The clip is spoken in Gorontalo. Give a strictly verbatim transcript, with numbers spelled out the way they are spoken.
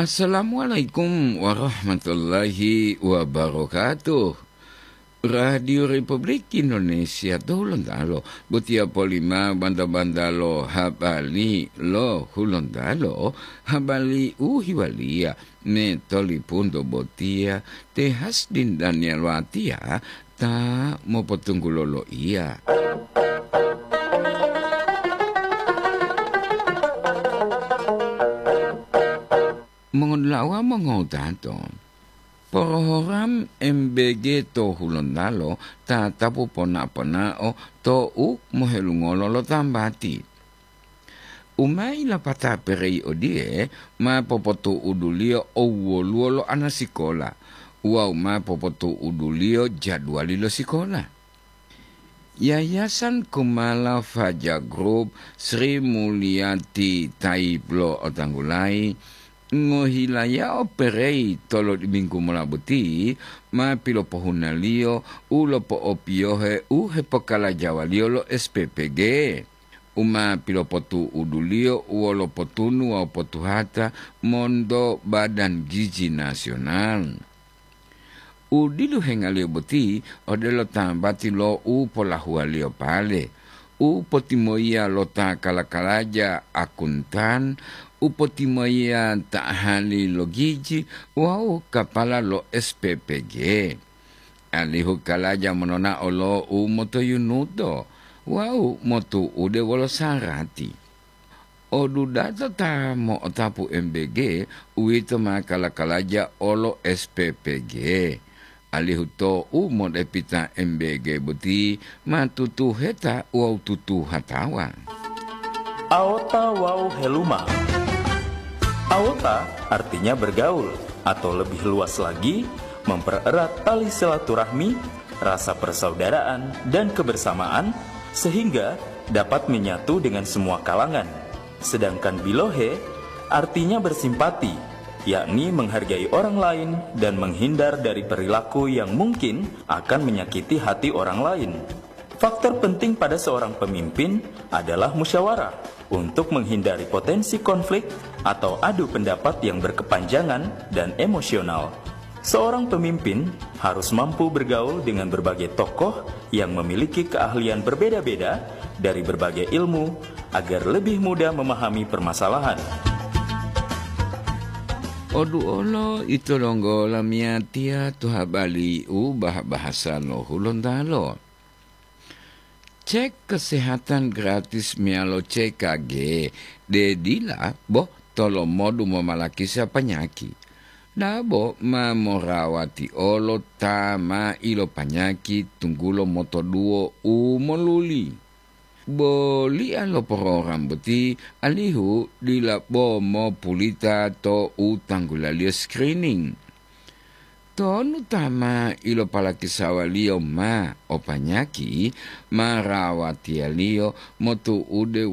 Assalamualaikum warahmatullahi wabarakatuh. Radio Republik Indonesia to Hulontalo, botiya polima banta-banta lo habari lo Hulontalo, habari u hiwaliya me tolipunto botiya te Hasdin Daniel Watiya ta mopotunggulo loiya. Mongodula'a mongowutato, porohoram M B G to Hulontalo tatapu pona-ponao to u mohelungolo lo tambati. U ma ilapata perei odiye ma popotu'uduliyo owoluwo lo anasikola wawu ma popotu'uduliyo jadwali lo sikola. Yayasan Kumala Faja Group Sri Mulyati Taib lo otanggulayi ngohilayao perei tolodiminggu mola boti ma pilopohunaliyo u lopo'opiyohe u hepokalajawaliyo lo S P P G. U ma pilopotu'uduliyo wolo potunu wawu potuhata monto Badan Gizi Nasional. U diluhengaliyo boti odelo tambati lo u polahuwaliyo pale, u potimoyiya lo ta kala-kalaja akuntan, u potimoyiya ta ahali lo gizi wawu kapala lo S P P G. Alihu kalaja mononao lo u motoyunuto wawu motu'ude wolo sarati. Odudata ta mo'otapu M B G, uwito ma kala-kalaja olo S P P G. Alihu to u modepita M B G boti ma tutuheta wawu tutuhatawa. Aota wawu heluma. Aota artinya bergaul, atau lebih luas lagi, mempererat tali silaturahmi, rasa persaudaraan, dan kebersamaan, sehingga dapat menyatu dengan semua kalangan. Sedangkan bilohe artinya bersimpati, yakni menghargai orang lain dan menghindar dari perilaku yang mungkin akan menyakiti hati orang lain. Faktor penting pada seorang pemimpin adalah musyawarah untuk menghindari potensi konflik atau adu pendapat yang berkepanjangan dan emosional. Seorang pemimpin harus mampu bergaul dengan berbagai tokoh yang memiliki keahlian berbeda-beda dari berbagai ilmu agar lebih mudah memahami permasalahan. Oduolo ito donggo lamiyatiya to habari u bah-bahasa lo Hulontalo. Cek kesehatan gratis meyalo C K G, de dila bo tolomodu momalakisa panyaki. Dabo ma morawati olo ta ma ilopanyaki tunggulo motoduwo u moluli. Bolia lo porogram boti alihu dila bo mopulita to u tanggulaliyo screening. Tonu ta ma ilopalakisawaliyo ma o panyaki, ma rawatiyaliyo motu'ude